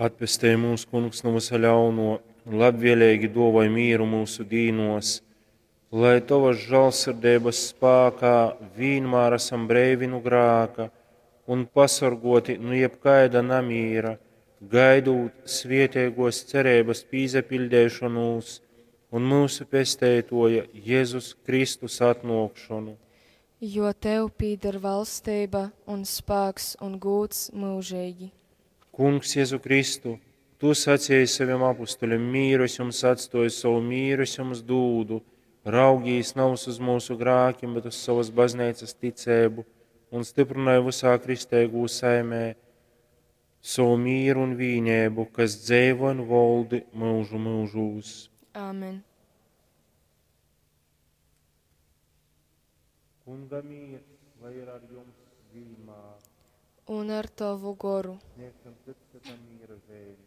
Atpestej mūs, Kungs, nu vysa ļauno, un labvēlīgi duovoj mīru mūsu dīnos, lai Tovas žālsirdeibas spākā vīnmār esam breivi nu grāka un pasorgoti nu jebkaida namīra, gaidūt svietēgos cerības pīsapiļdeišonūs un mūsu pesteitoja Jēzus Kristus atnōkšonu. Jo Tev pīder valstība un spāks un gūds mūžīgi. Kungs, Jēzu Kristu, Tu sacīji saviem apustuļiem, mīru es jums atstoju, savu mīru es jums dūdu, raugīs nav uz mūsu grākiem, bet uz savas baznīcas ticēbu un stiprināja visā kristeigū saimē savu mīru un vīnēbu, kas dzeivo un voldi mūžu mūžūs. Āmen. Kunga mīrs, lai ir ar jums vienmēr. Un ar tavu goru. Sniegsim cits citam mīra zīmi.